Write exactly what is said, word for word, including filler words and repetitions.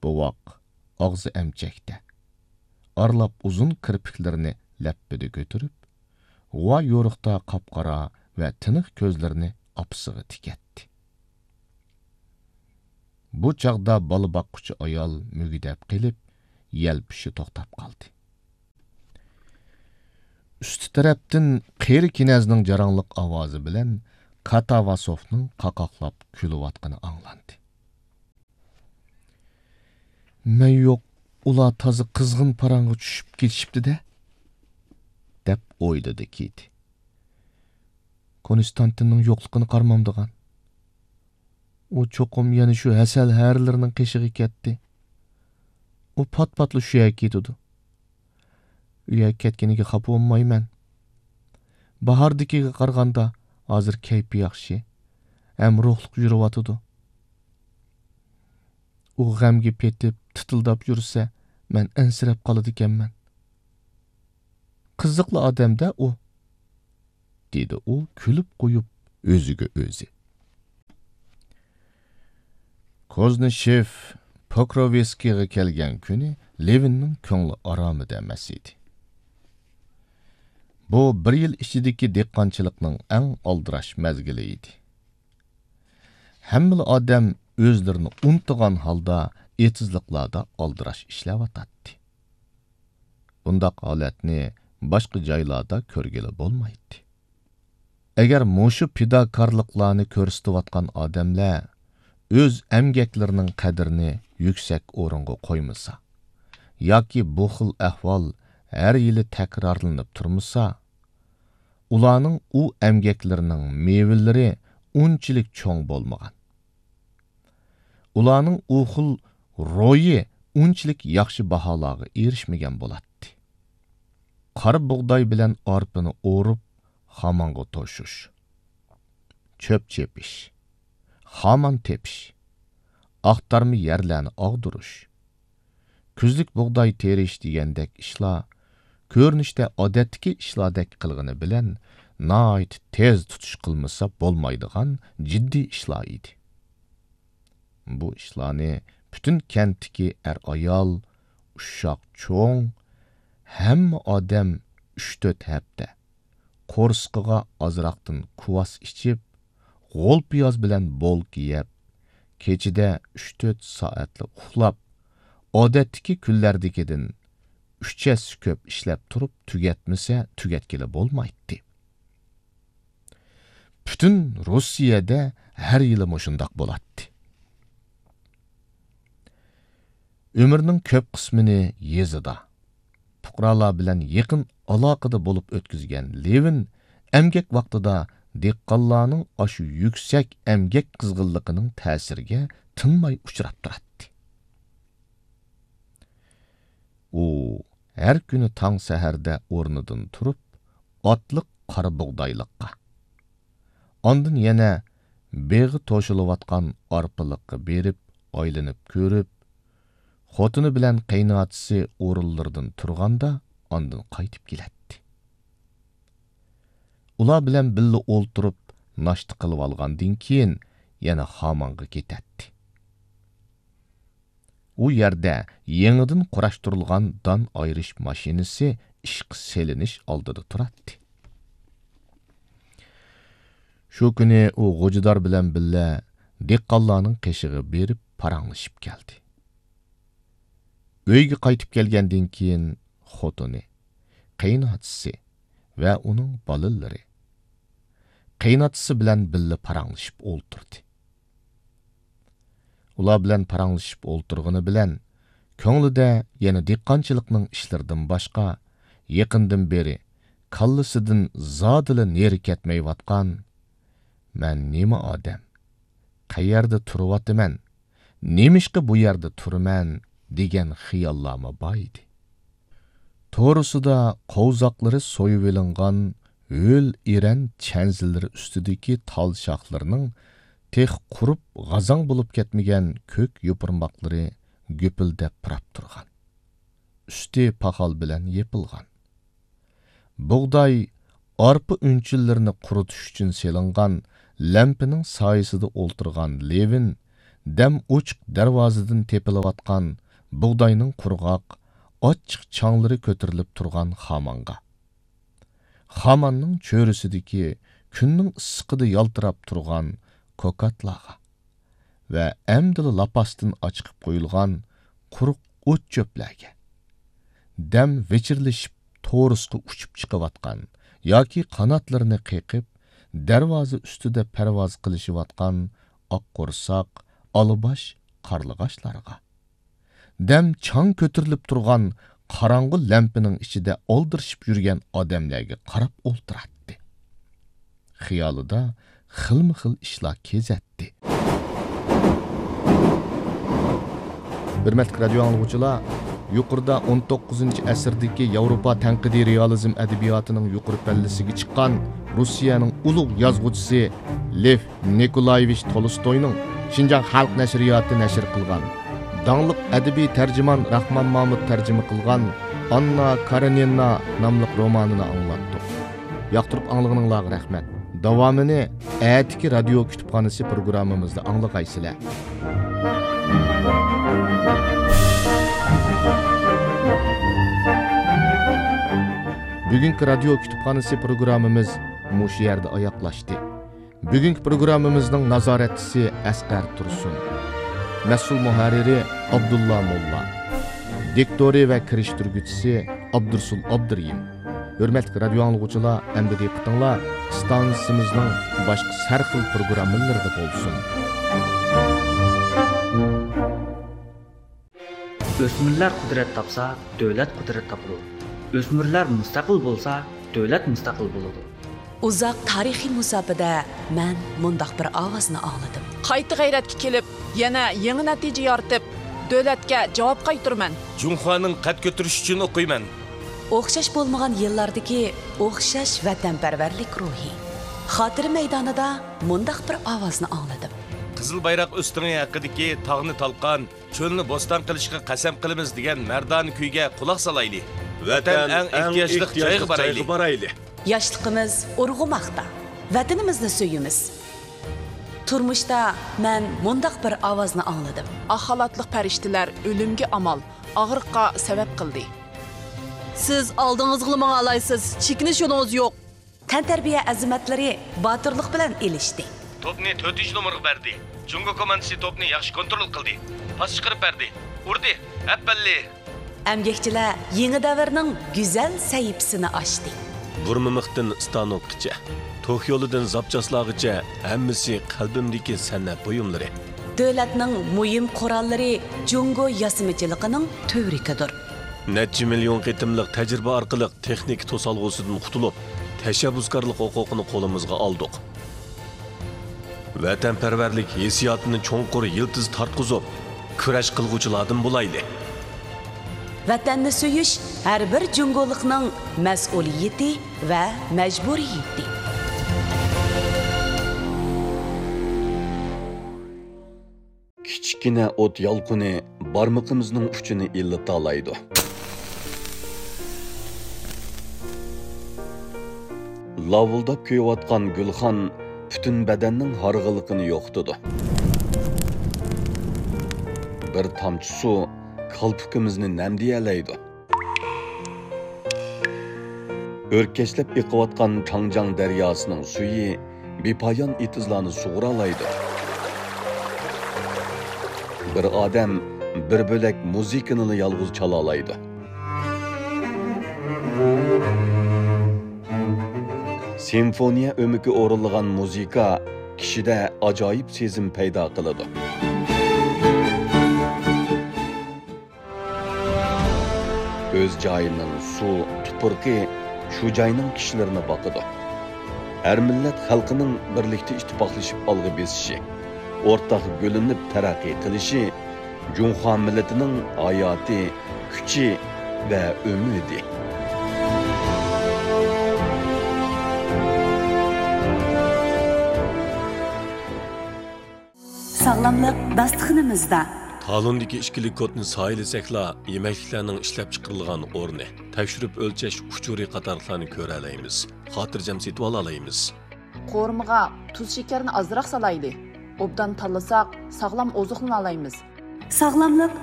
بوۋاق، ئاغزى ئەمچەكتە، ئارىلاپ ئۇزۇن كىرپىكلىرىنى لەپپىدە كۆتۈرۈپ، غۇۋا يورۇقتا قاپقارا ۋە تىنىق كۆزلىرىنى ئاپىسىغا تىكەتتى. بۇ چاغدا بالا باققۇچى ئايال مۈگدەپ قېلىپ، يەلپۈشى توختاپ قالدى. ئۈستى تەرەپتىن قېرى كېنەزنىڭ جاراڭلىق ئاۋازى بىلەن كاتاۋاسوفنىڭ قاقاقلاپ كۈلۈۋاتقىنى ئاڭلاندى. «مەن يوق، ئۇلار تازا قىزغىن پاراڭغا چۈشۈپ كېتىشىپتۇ-دە» دەپ ئويلىدى كېتى. «كونستانتىننىڭ يوقلۇقىنى قارىمامدىغان. ئۇ چوقۇم يەنە شۇ ھەسەل ھەرىلىرىنىڭ قېشىغا كەتتى. ئۇ پات-پاتلا شۇ يەرگە كېتىدۇ. ئۇ يەرگە كەتكىنىگە خاپا بولمايمەن. باھاردىكىگە قارىغاندا ھازىر كەيپى ياخشى، ھەم روھلۇق يۈرۈۋاتىدۇ. ئۇ غەمگە پېتىپ، تىتىلداپ يۈرسە، مەن ئەنسىرەپ قالىدىكەنمەن. قىزىقلا ئادەم-دە ئۇ»، دېدى ئۇ كۈلۈپ قويۇپ ئۆزىگە ئۆزى. كوزنىشېف پوكروۋسكىيغا كەلگەن كۈنى لېۋىننىڭ كۆڭلى ئارامىدا ئەمەس ئىدى. بۇ بىر يىل ئىچىدىكى دېھقانچىلىقنىڭ ئەڭ ئالدىراش مەزگىلى ئىدى. ھەممىلا ئادەم ئۆزلىرىنى ئۇنتۇغان ھالدا ئېتىزلىقلاردا ئالدىراش ئىشلەۋاتاتتى. بۇنداق ھالەتنى باشقا جايلاردا كۆرگىلى بولمايتتى. ئەگەر مۇشۇ پىداكارلىقلارنى كۆرسىتىۋاتقان ئادەملەر ئۆز ئەمگەكلىرىنىڭ قەدرىنى يۈكسەك ئورۇنغا قويمىسا، ياكى بۇ خىل ئەھۋال ھەر يىلى تەكرارلىنىپ تۇرمىسا، ئۇلارنىڭ ئۇ ئەمگەكلىرىنىڭ مېۋىلىرى ئۇنچىلىك چوڭ بولمىغان. ئۇلارنىڭ ئۇ خىل روھى ئۇنچىلىك ياخشى باھالارغا ئېرىشمىگەن بولاتتى. قارا بۇغداي بىلەن ئارپىنى ئورۇپ، خامانغا توشۇش، چۆپ چېپىش، خامان تېپىش، ئاختارما يەرلەرنى ئاغدۇرۇش، كۈزلۈك بۇغداي تېرىش دېگەندەك ئىشلار كۆرۈنۈشتە ئادەتتىكى ئىشلاردەك قىلغىنى بىلەن ناھايىتى تېز تۇتۇش قىلمىسا بولمايدىغان جىددىي ئىشلار ئىدى. بۇ ئىشلارنى پۈتۈن كەنتتىكى ئەر-ئايال، ئۇششاق-چوڭ، ھەممە ئادەم ئۈچ-تۆت ھەپتە قورسىقىغا ئازراقتىن كۇۋاس ئىچىپ، غول پىياز بىلەن بولكا يەپ، كېچىدە ئۈچ-تۆت سائەتلا ئۇخلاپ، ئادەتتىكى كۈنلەردىكىدىن ئۈچ ھەسسە كۆپ ئىشلەپ تۇرۇپ تۈگەتمىسە، تۈگەتكىلى بولمايتتى. پۈتۈن روسىيەدە ھەر يىلى مۇشۇنداق بولاتتى. ئۆمرىنىڭ كۆپ قىسمىنى يېزىدا، پۇقرالار بىلەن يېقىن ئالاقىدە بولۇپ ئۆتكۈزگەن لېۋىن ئەمگەك ۋاقتىدا دېھقانلارنىڭ ئاشۇ يۈكسەك ئەمگەك قىزغىنلىقىنىڭ تەسىرىگە تىنماي ئۇچراپ تۇراتتى. ئۇ ھەر كۈنى تاڭ سەھەردە ئورنىدىن تۇرۇپ، ئاتلىق قارا بۇغدايلىققا، ئاندىن يەنە بېغى توشۇلۇۋاتقان ئارپىلىققا بېرىپ ئايلىنىپ كۆرۈپ، خوتۇنى بىلەن قېيىنئاتىسى ئورۇنلىرىدىن تۇرغاندا ئاندىن قايتىپ كېلەتتى. ئۇلار بىلەن بىللە ئولتۇرۇپ ناشتا قىلىۋالغاندىن كېيىن يەنە خامانغا كېتەتتى. ئۇ يەردە يېڭىدىن قۇراشتۇرۇلغان دان ئايرىش ماشىنىسى ئىشقا سېلىنىش ئالدىدا تۇراتتى. شۇ كۈنى ئۇ غوجىدار بىلەن بىللە دېھقانلارنىڭ قېشىغا بېرىپ پاراڭلىشىپ كەلدى. ئۆيگە قايتىپ كەلگەندىن كېيىن خوتۇنى، قېيىنئاتىسى ۋە ئۇنىڭ بالىلىرى قېيىنئاتىسى بىلەن بىللە پاراڭلىشىپ ئولتۇردى. ئۇلار بىلەن پاراڭلىشىپ ئولتۇرغىنى بىلەن، كۆڭلىدە يەنە دېھقانچىلىقنىڭ ئىشلىرىدىن باشقا، يېقىندىن بېرى كاللىسىدىن زادىلا نېرى كەتمەيۋاتقان، «مەن نېمە ئادەم؟ قەيەردە تۇرۇۋاتىمەن؟ نېمىشقا بۇ يەردە تۇرىمەن؟» دېگەن خىياللارمۇ بار ئىدى. توغرىسىدا قوۋزاقلىرى سويۇۋېلىنغان ھۆل ئېرەن چەنزىلىرى ئۈستىدىكى تال شاخلىرىنىڭ تېخى قۇرۇپ غازاڭ بولۇپ كەتمىگەن كۆك يوپۇرماقلىرى گۈپۈلدەپ پۇراپ تۇرغان. ئۈستى پاخال بىلەن يېپىلغان. بۇغداي، ئارپا ئۈنچىلىرىنى قۇرۇتۇش ئۈچۈن سېلىنغان لەمپىنىڭ سايىسىدا ئولتۇرغان لېۋىن دەم ئوچۇق دەرۋازىدىن تېپىلىۋاتقان بۇغداينىڭ قۇرغاق، ئاچچىق چاڭلىرى كۆتۈرۈلۈپ تۇرغان خامانغا، خاماننىڭ چۆرىسىدىكى كۈننىڭ ئىسسىقىدا يالتىراپ تۇرغان كوكاتلارغا ۋە ئەمدىلا لاپاستىن ئاچىقىپ قويۇلغان قۇرۇق ئوت-چۆپلەرگە، دەم ۋىچىرلىشىپ تورۇسقا ئۇچۇپ چىقىۋاتقان ياكى قاناتلىرىنى قېقىپ، دەرۋازا ئۈستىدە پەرۋاز قىلىشىۋاتقان ئاق قورساق، ئالىباش قارلىغاچلارغا، دەم چاڭ كۆتۈرۈلۈپ تۇرغان قاراڭغۇ لەمپىنىڭ ئىچىدە ئالدىرىشىپ يۈرگەن ئادەملەرگە قاراپ ئولتۇراتتى. خىيالىدا خىلمۇ خىل ئىشلار كېزەتتى. ھۆرمەتلىك رادىيو ئاڭلىغۇچىلار، يۇقىرىدا ئون توققۇزىنچى ئەسىردىكى ياۋروپا تەنقىدىي رېئالىزم ئەدەبىياتىنىڭ يۇقىرى پەللىسىگە چىققان روسىيەنىڭ ئۇلۇغ يازغۇچىسى لېف نىكولايېۋىچ تولستوينىڭ شىنجاڭ خەلق نەشرىياتى نەشر قىلغان، داڭلىق ئەدەبىي تەرجىمان راخمان مامۇت تەرجىمە قىلغان ئاننا كارېنىنا ناملىق رومانىنى ئاڭلاتتۇق. ياقتۇرۇپ ئاڭلىغىنىڭلارغا رەھمەت. داۋامىنى ئەتىكى رادىيو كۇتۇپخانىسى پروگراممىمىزدا ئاڭلىغايسىلەر. بۈگۈنكى رادىيو كۇتۇپخانىسى پروگراممىمىز مۇشۇ يەردە ئاياغلاشتى. بۈگۈنكى پروگراممىمىزنىڭ نازارەتچىسى ئەسقەر تۇرسۇن. مەسئۇل مۇھەررىرى ئابدۇللا موللا. دىكتورى ۋە كىرىشتۈرگۈچىسى ئابدۇرسۇل ئابدۇرېھىم. ھۆرمەتلىك رادىيو ئاڭلىغۇچىلار، ئەمدى دىققىتىڭلار ئىستانسىمىزنىڭ باشقا ھەر خىل پروگراممىلىرىدا بولسۇن. ئۆسمۈرلەر قۇدرەت تاپسا، دۆلەت قۇدرەت تاپىدۇ. ئۆسمۈرلەر مۇستەقىل بولسا، دۆلەت مۇستەقىل بولىدۇ. ئۇزاق تارىخىي مۇساپىدە مەن مۇنداق بىر ئاۋازنى ئاڭلىدىم. قايتا غەيرەتكە كېلىپ، يەنە يېڭى نەتىجە يارىتىپ، دۆلەتكە جاۋاب قايتۇرىمەن. جۇڭخۇانىڭ قەد كۆتۈرۈشى ئۈچۈن ئوقۇيمەن. ئوخشاش بولمىغان يىللاردىكى ئوخشاش ۋەتەنپەرۋەرلىك روھى. خاتىرە مەيدانىدا مۇنداق بىر ئاۋازنى ئاڭلىدىم. قىزىل بايراق ئۆستىڭى ھەققىدىكى تاغنى تالقان، چۆلنى بوستان قىلىشقا قەسەم قىلىمىز دېگەن مەردانە كۈيگە قۇلاق سالايلى. ۋەتەن ئەڭ ئېھتىياجلىق جايغا بارايلى. ياشلىقىمىز ئۇرغۇماقتا. ۋەتىنىمىزنى سۆيىمىز. تۇرمۇشتا مەن مۇنداق بىر ئاۋازنى ئاڭلىدىم. ئاق خالاتلىق پەرىشتىلەر ئۆلۈمگە ئامال، ئاغرىققا سەۋەب قىلدى. سىز ئالدىڭىزغىلا ماڭالايسىز، چېكىنىش يولىڭىز يوق. تەنتەربىيە ئەزىمەتلىرى باتۇرلۇق بىلەن ئېلىشتى. توپنى تۆتىنچى نومۇرغا بەردى. جۇڭگو كوماندىسى توپنى ياخشى كونترول قىلدى. پاس چىقىرىپ بەردى. ئۇردى. ئەپەللى! ئەمگەكچىلەر يېڭى دەۋرنىڭ گۈزەل سەھىپىسىنى ئاچتى. بۇرمىمىختىن ستانوكقىچە، توك يولىدىن زاپچاسلارغىچە ھەممىسى قەلبىمدىكى سەنئەت بۇيۇملىرى. دۆلەتنىڭ مۇھىم قوراللىرى جۇڭگو ياسىمىچىلىقىنىڭ تۈۋرۈكىدۇر. نەچچە مىليون قېتىملىق تەجرىبە ئارقىلىق تېخنىكا توسالغۇسىدىن قۇتۇلۇپ، تەشەببۇسكارلىق ھوقۇقىنى قولىمىزغا ئالدۇق. ۋەتەنپەرۋەرلىك ھېسسىياتىنى چوڭقۇر يىلتىز تارتقۇزۇپ، كۈرەش قىلغۇچىلاردىن بولايلى. ۋەتەننى سۆيۈش ھەر بىر جۇڭگولۇقنىڭ مەسئۇلىيىتى ۋە مەجبۇرىيىتى. كىچىككىنە ئوت يالقۇنى بارمىقىمىزنىڭ ئۇچىنى ئىللىتالايدۇ. لاۋۇلداپ كۆيۈۋاتقان گۈلخان پۈتۈن بەدەننىڭ ھارغىنلىقىنى يوقىتىدۇ. بىر تامچە سۇ كالپۇكىمىزنى نەمدىيەلەيدۇ. ئۆركەشلەپ ئېقىۋاتقان چاڭجياڭ دەرياسىنىڭ سۈيى بىپايان ئېتىزلارنى سۇغۇرالايدۇ. بىر ئادەم بىر بۆلەك مۇزىكىنىلا يالغۇز چالالايدۇ. سىمفونىيە ئۆمىكى ئورۇنلىغان مۇزىكا كىشىدە ئاجايىپ سېزىم پەيدا قىلىدۇ. ئۆز جايىنىڭ سۇ، تۇپرىقى شۇ جاينىڭ كىشىلىرىنى باقىدۇ. ھەر مىللەت خەلقىنىڭ بىرلىكتە ئىتتىپاقلىشىپ ئالغا بېسىشى، ئورتاق گۈللىنىپ تەرەققىي قىلىشى جۇڭخۇا مىللىتىنىڭ ھاياتى، كۈچى ۋە ئۈمىدى. ساغلاملىق داستىخىنىمىزدا. تالوندىكى ئىككىلىك كودنى سايىلىسەكلا، يېمەكلىكلەرنىڭ ئىشلەپچىقىرىلغان ئورنى، تەكشۈرۈپ ئۆلچەش ئۇچۇرى قاتارلىقلارنى كۆرەلەيمىز، خاتىرجەم سېتىۋالالايمىز. قورۇمىغا تۇز شېكەرنى ئازراق سالايلى. ئوبدان تاللىساق، ساغلام ئوزۇقلىنالايمىز. ساغلاملىق